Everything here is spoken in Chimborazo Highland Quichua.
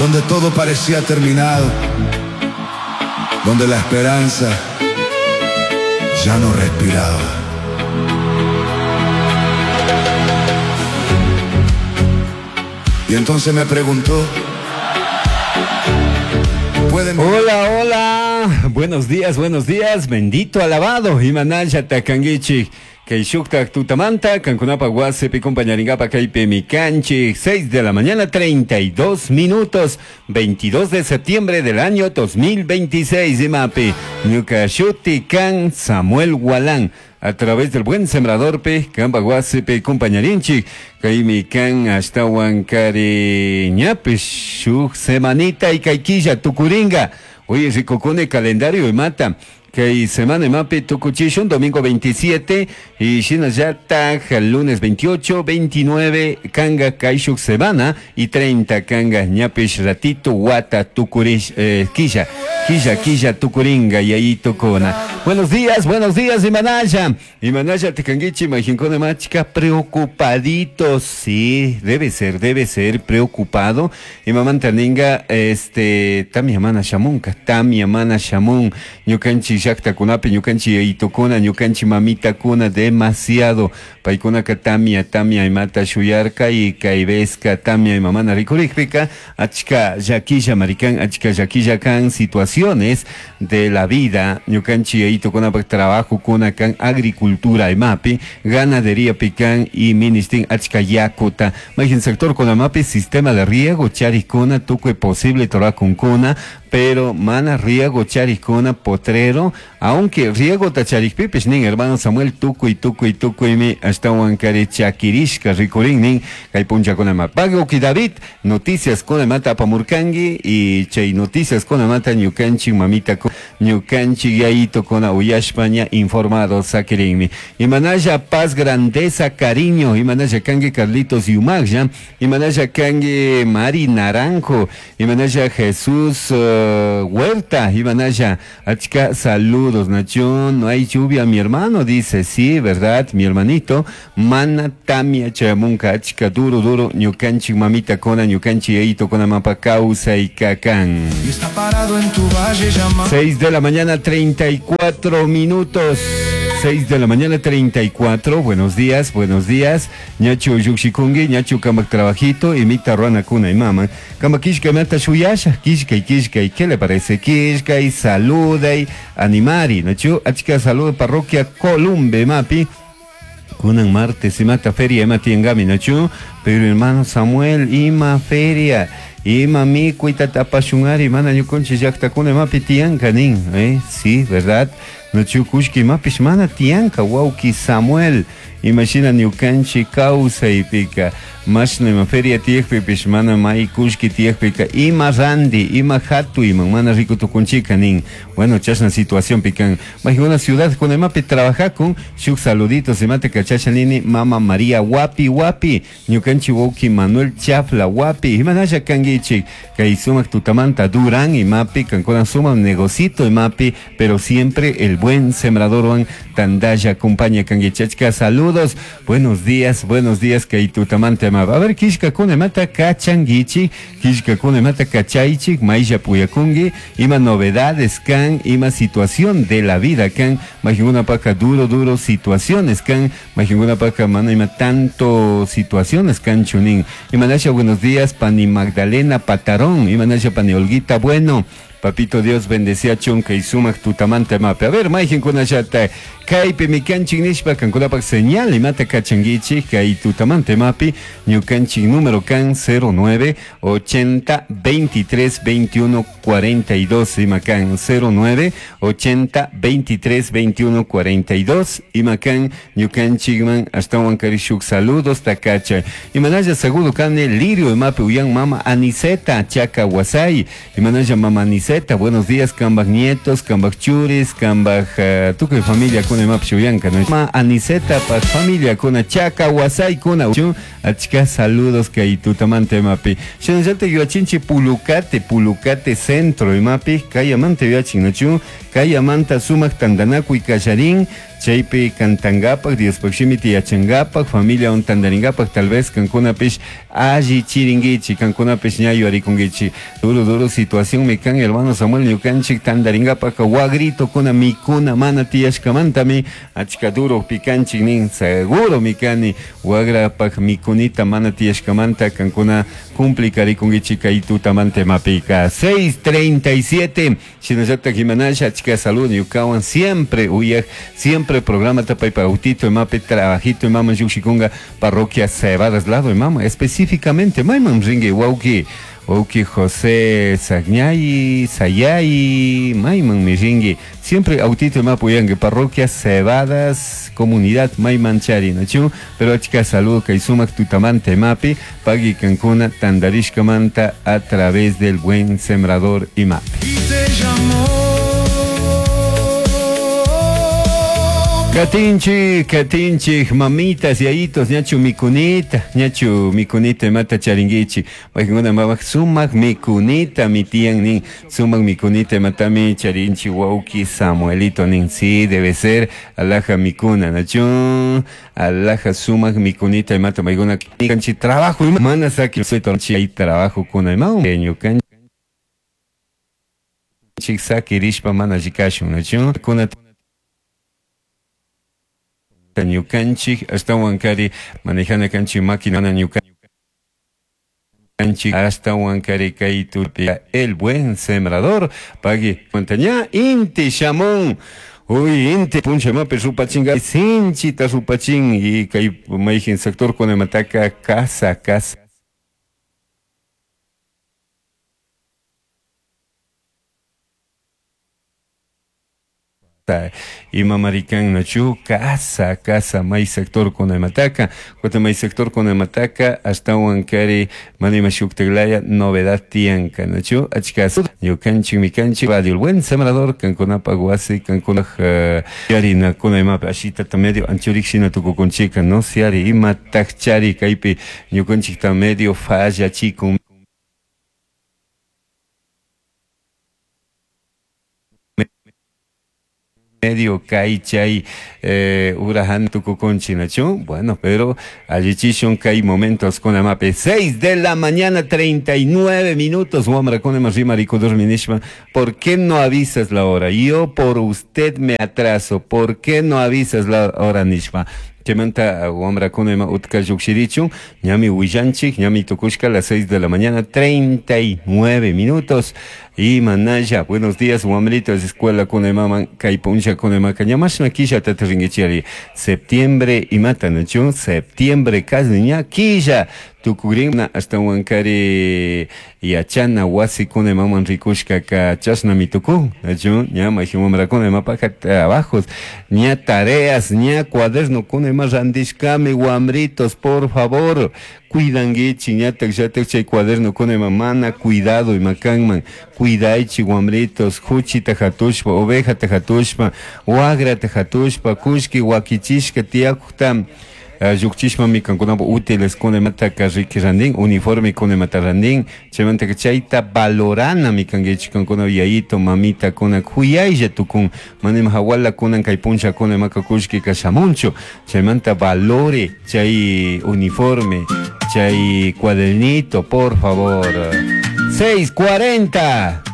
Donde todo parecía terminado, donde la esperanza ya no respiraba. Y entonces me preguntó, ¿pueden Hola, hola. Buenos días, buenos días. Bendito alabado. Imanalla takanguichi. Kay shuktak tutamanta, kankunapa wasipi compañaringapa kaypi mi canchi. 6 de la mañana, 32 minutos. 22 de septiembre del año 2026. Imapi. Ñuka shuti kan Samuel Gualán. A través del buen sembrador pe, kamba wasipi compañarinchi. Kaymi kan ashtawan kari ñapish shuk semanita y kayquilla tukuringa. Oye, rikukuni calendario imata. Kay semana imapi tukuchishun domingo 27 y shinallatag lunes 28, 29 kanga kayshuk semana y 30 kanga ñapish ratito wata tukurish quilla, quilla, quilla tukuringa y ahí tukuna. Buenos días, buenos días Imanaya. Imanaya tikanguichi majinkuna machika preocupadito, sí, debe ser preocupado. Y mamanta ninga, tamia mana shamunka, tamia mana shamun, ñukanchi llaqtakunapi ñukanchi yayitukuna, ñukanchi mamitakuna demasiado. Paykunaka tamia, tamia imata shuyarka y kay vezka tamia imamana rikurikpika, achka llakilla marikan, achka llakilla kan situaciones de la vida, ñukanchi yayitukunapak trabajo kuna kan agricultura imapi, ganadería pican y ministin achka yakuta. Majin sector kunamapi sistema de riego charikuna, tukuy posible torakunkuna, pero mana riego charikuna potrero, aunque riego tacharikpipis nin hermano Samuel tukuy tukuy tukuy mi ashtawan kari chakirishka rikurin nin kay punchakunama. Pago ki David, noticias kunamata apamurkangi y chay noticias kunamata ñukanchik mamita ñukanchik yayito kuna uyashpaña informado sakirinmi. Imanaya paz, grandeza, cariño, imanaya kangi Carlitos Yumagya, imanaya kangi Mari Naranjo, imanaya Jesús Huerta, imanaya achka saludos, Nacho, no hay lluvia, mi hermano dice, sí, verdad, mi hermanito, mana tamia chamunka, achka duro, duro, ñukanchik mamita kona, ñukanchik yayito kona mapa causa y kakan. Y está parado en tu valle llama. 6 de la mañana, 34 minutos. 6 de la mañana, 34. Buenos días, buenos días. Ñacho yukshikungi, ñacho kambak trabajito, imita ruana kuna y mama. Kamba kishka mata shuyasha, kishka y kishka y ¿qué le parece? Kishka y saluda y animari. Nacho, achka saluda parroquia Columbe, mapi. Kunan martes, imata feria, ima tiengami, nacho. Pero hermano Samuel, ima feria. Ima mi cuita tapashungari, mana ñukunchi llaqtakuna imapi tiyanka nin, Sí, ¿verdad? Nachu kushki imapish mana tiyanka, wawki Samuel. Imashina ñukanchi kawsaypika, mashna ima feria tiyakpipish mana may kushki tiyakpika, ima randi, ima hatu, ima mana riku tukunchika nin. Bueno, chashna situación pican. Majiguna ciudad con imapi trabajakun, shuk saluditos imate kachasha nini, mama María wapi wapi, ñukanchi wawki Manuel Chafla wapi, imanasha kangichik, kay sumak tutamanta Durán imapi, kankuna suma negocito imapi, pero siempre el buen sembrador wan tandaya acompaña kangichachka, saludos. Buenos días, buenos días, kay tutamanta ma. A ver, kishka kuna mata kachanguichi, kishka kuna mata kachaichi, maisha puyakungi, ima novedades kan, ima situación de la vida kan, majinguna paca duro, duro situaciones kan, majinguna paca mana ima tanto situaciones kan chunin. Imanasha, buenos días, pani Magdalena Patarón, imanasha pani Olguita Bueno. Papito Dios bendecía chunka y sumak tutamante mape. A ver, maijen kunashata, kaypi mi kanchin nishpa, kankunapak señal imata kachanguichi, kay tutamante mapi, ñukanchik número kan cero nueve, ochenta, veintitrés, veintiuno, cuarenta y dos, imakan cero nueve, ochenta, veintitrés, veintiuno, cuarenta y dos, imakan ñukanchikman, hasta huancarishuk, saludos takacha. Imanaya seguro kane lirio imapi uyan mama Aniseta, chaca guasay, imanaya mama Aniseta, buenos días, kambak nietos, kambak churis, kambak tukuy familia kuna imapi shuyanka, ¿no? Ma Aniseta, pa familia kuna chaca guasay kuna chu, achka saludos kay tutamante imapi. Shinallata yuachinchi pulucate, pulucate centro imapi, kayamante yuachin, ¿no? Chu, kayamanta sumak tandanakuy kallarín, Chaypi cantangapak, Diospaj shimita yachangapak, familiawan tandaringapak, tal vez kankunapish alli chiringuichi, kankunapish ña yuyarikunguichi. Duro, duro situación mi kan, hermano Samuel, ñukanchik tandaringapak wagritokuna mikuna mana tiyashkamantami achka duro pikanchik nin, seguro mi kani wagrapak mikunita mana tiyashkamanta kankuna complicarikунguichi kay tutamanta imapika. 6:37, shinallatak imanasha achka salud ñukawan siempre uyaj, siempre programa tapaypa autito imapi trabajito imaman llukshikunga parroquia Cebadas lado imama, específicamente mayman ringi wawki, wawki José Sagñay, Sayay, mayman mi ringi, siempre autito imapu uyangi parroquia Cebadas, comunidad mayman chari, nachu? Pero achka salud kay sumak tutamanta imapi, pagui kankuna tandarishkamanta a través del buen sembrador imapi. Y te llamó. Katinchik, katinchik, mamitas, yayitos, ñachu mikunita, ñachu mikunita imata charinguichi. Maykuna mamak sumak mikunita mi tiyan nin, sumak mikunita imatami charinchi wauki Samuelito nin. Sí, debe ser alaja mikuna, nachu, alaja sumak mikunita imata maykuna kanchi trabajo ima mana saki soy hay trabajo kuna ima ñukanchik sakirishpa mana llikashun, nachu, kuna ñukanchik ashtawan kari manejana kanchik máquina ñukanchik ashtawan kari kay tupi el buen sembrador pagui montaña inti shamun. Uy, inti puncha mapi rupachinga sinchita rupachin y kay mayjin sector con mataka casa casa ima marikan nachu casa casa may sector con mataka cuando may sector con mataka ashtawan kari manima shuktaglaya novedad tianka nachu achka ñukanchik mikanchik radio el buen sembrador kankunapa wasi kankuna yarina kuna imapi ashita ta medio anchurik shina tukukunchika no siari ima takchari kaypi ñukanchik ta medio falla chikun medio kay chay urahan tukukunchi nachu. Bueno, pero allichishun kay momentos con amape. 6 de la mañana, 39 minutos. Wamra con rima rico dorminishma. ¿Por qué no avisas la hora? Yo por usted me atraso. ¿Por qué no avisas la hora, Nishma? Chaymanta wamrakuna ima utka llukshirichun, ñami willanchik, ñami tukushka a las 6 de la mañana, 39 minutos. Y manaya, buenos días, wamritos, escuela kuna imaman, kay puncha kuna imaka, ñamashna killa tata ringuichiari, septiembre imata, nachu, septiembre casi ña killa, tukugrin, hasta wankari yachana wasi kuna imaman rikushka ka chashna mituku, nachu, ña mayjin wamrakuna imapaka trabajos, ña tareas, ña cuaderno kuna ima randishkami, wamritos, por favor, cuidanguichi, ñatak llatak chay cuaderno kuna ima mana cuidado imakanman, cuidaichi wamritos, huchita hatushpa, ovejata hatushpa, wagrata hatushpa, kushki wakichishka tiyakukta llukchishpa mi kankunapa útiles kuna imataka riki randin, uniforme kuna imata randin, chaymantaka chayta valorana mi kankichi kankuna yayito, mamita kuna kuyaylla tukun, mana ima hawala kunan kay puncha kuna imaka kushkika shamunchu, chaymanta valore chay uniforme, chay cuadernito, por favor. 6:40.